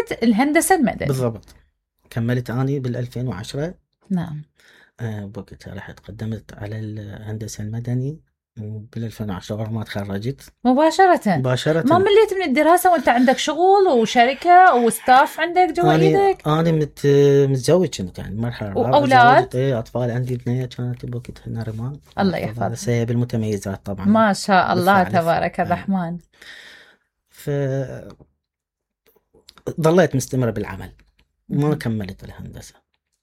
مدرسة الهندسة المدني. بالضبط. كملت اني بال2010. نعم. بوقتها رحت قدمت على الهندسة المدني بال2010 ورا ما تخرجت مباشرة. ما مليت من الدراسة وانت عندك شغل وشركة وستاف عندك جوا ايدك؟ انا متزوج كنت يعني مرحلة واولاد؟ اطفال عندي بنية كانت بوقتها نارمان الله يحفظها. سيب المتميزات طبعا ما شاء الله تبارك الرحمن. ظليت مستمرة بالعمل ما كملت الهندسة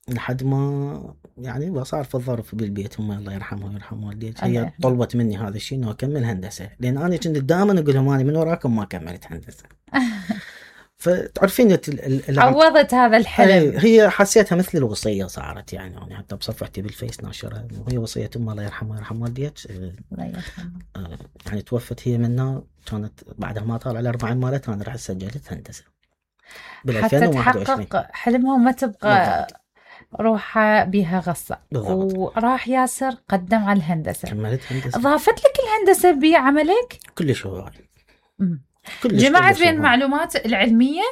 لحد ما يعني صار في الظرف بالبيت. هم الله يرحمها ويرحم والديك هي طلبت مني هذا الشيء انه اكمل هندسة لان انا كنت دائما اقول لهم انا من وراكم ما كملت هندسة. فتعرفين عوضت هذا الحلم. هي حسيتها مثل الوصية صارت يعني حتى بصفحتي بالفيس ناشرة وهي وصية أم الله يرحمها ويرحم والديك. الله يرحمها. يعني توفت هي منا كانت بعدها ما طال على 4 مرات أنا رحت سجلت هندسة حتى تحقق حلمها وما تبقى روحها بها غصة. وراح ياسر قدم على الهندسة. كملت هندسة. ضافت لك الهندسة بعملك؟ كلش هواي. جمعت بين المعلومات العلمية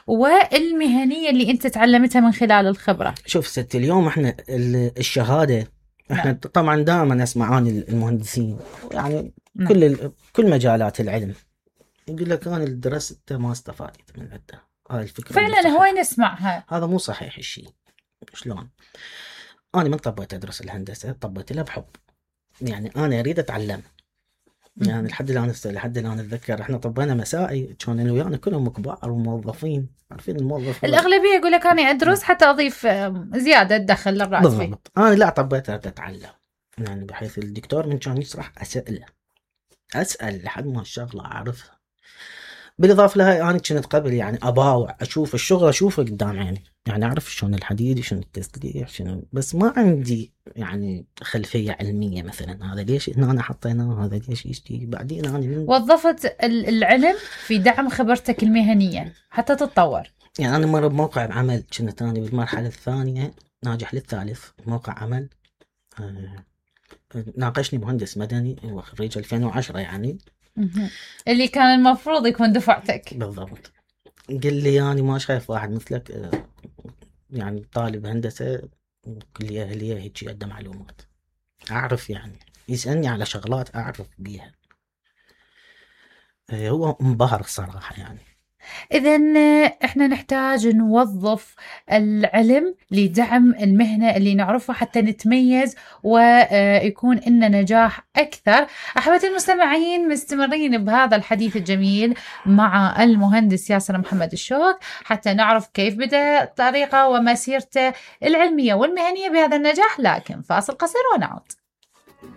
والمهنية اللي انت تعلمتها من خلال الخبرة. شوف ستي اليوم احنا الشهادة احنا طبعا دائما نسمع عن المهندسين يعني كل مجالات العلم يقول لك انا درست ما استفادت من عنده. هاي الفكرة فعلا هواي نسمعها. هذا مو صحيح الشيء. شلون؟ انا من طبيت ادرس الهندسة طبيت لها بحب يعني انا اريد اتعلم يعني لحد الان اتذكر احنا طبينا مسائي كان انا ويانا كلهم كبار وموظفين. عارفين الموظف الاغلبيه يقول لك انا ادرس حتى اضيف زياده دخل للراتب. بالضبط. انا لا طبيت اتعلم يعني بحيث الدكتور من كان يشرح اسال لحد ما الشغله اعرفها. بالاضافه لها انا كنت قبل يعني اباوع اشوف الشغل اشوفه قدام عيني يعني اعرف شلون الحديد شلون التسليح شنو بس ما عندي يعني خلفيه علميه مثلا هذا ليش هنا حطيناه هذا ليش يشتي. بعدين انا وظفت العلم في دعم خبرتك المهنيه حتى تتطور. يعني انا مره بموقع عمل كنت انا بالمرحله الثانيه ناجح للثالث موقع عمل ناقشني مهندس مدني وخريج 2010 يعني اللي كان المفروض يكون دفعتك. بالضبط. قال لي يعني ما شايف واحد مثلك يعني طالب هندسة كلية أهلية هيك عنده معلومات أعرف يعني يسألني على شغلات أعرف بيها. هو انبهر الصراحة يعني. إذن إحنا نحتاج نوظف العلم لدعم المهنة اللي نعرفها حتى نتميز ويكون إننا نجاح أكثر. أحبتي المستمعين مستمرين بهذا الحديث الجميل مع المهندس ياسر محمد الشوك حتى نعرف كيف بدأ طريقة ومسيرته العلمية والمهنية بهذا النجاح. لكن فاصل قصير ونعود.